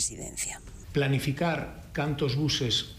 presidencia. Planificar cantos buses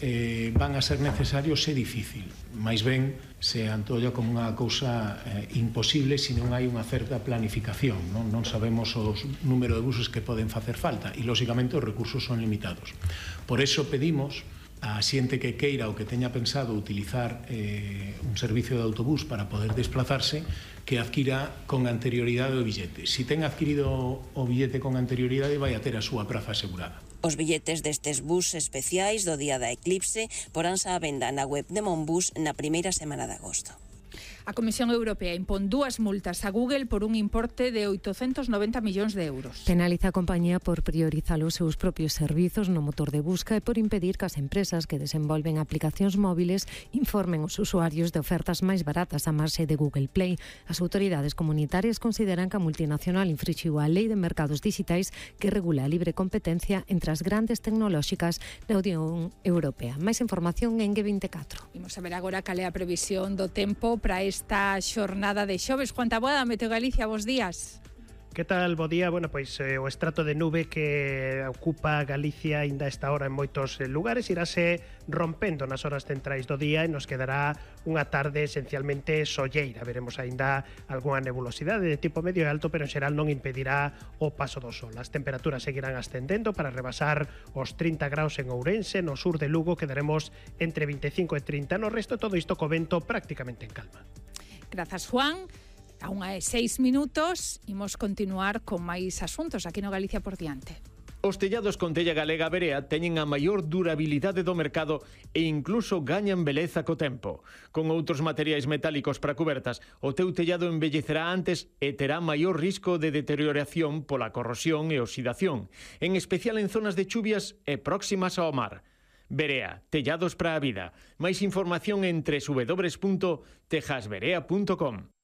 van a ser necesarios é difícil, máis ben se antolla como unha cousa imposible se non hai unha certa planificación, non sabemos o número de buses que poden facer falta e, lóxicamente, os recursos son limitados. Por eso pedimos a xente que queira ou que teña pensado utilizar un servicio de autobús para poder desplazarse que adquira con anterioridade o billete. Si ten adquirido o billete con anterioridade, vai a ter a súa praza asegurada. Os billetes destes bus especiais do día da eclipse poránse á venda na web de Monbus na primeira semana de agosto. A Comisión Europea impón 2 multas a Google por un importe de 890 millóns de euros. Penaliza a compañía por priorizar os seus propios servizos no motor de busca e por impedir que as empresas que desenvolven aplicacións móviles informen os usuarios de ofertas máis baratas a marxe de Google Play. As autoridades comunitarias consideran que a multinacional infrinxiu a Lei de Mercados Digitais que regula a libre competencia entre as grandes tecnolóxicas da Unión Europea. Máis información en G24. Imos a ver agora cal é a previsión do tempo para esta xornada de xoves. Juan Taboada, Meteo Galicia, bos días. Que tal? Bo día. Bueno, pois o estrato de nube que ocupa Galicia ainda esta hora en moitos lugares irase rompendo nas horas centrais do día e nos quedará unha tarde esencialmente solleira. Veremos aínda algunha nebulosidade de tipo medio e alto, pero en xeral non impedirá o paso do sol. As temperaturas seguirán ascendendo para rebasar os 30 graus en Ourense, no sur de Lugo quedaremos entre 25 e 30, no resto todo isto co vento prácticamente en calma. Grazas, Juan. A unha e 6 minutos, imos continuar con máis asuntos aquí no Galicia por diante. Os tellados con tella galega Berea teñen a maior durabilidade do mercado e incluso gañan beleza co tempo. Con outros materiais metálicos para cubertas, o teu tellado envellecerá antes e terá maior risco de deterioración pola corrosión e oxidación, en especial en zonas de chuvias e próximas ao mar. Berea, tellados para a vida. Máis información en www.tejasberea.com.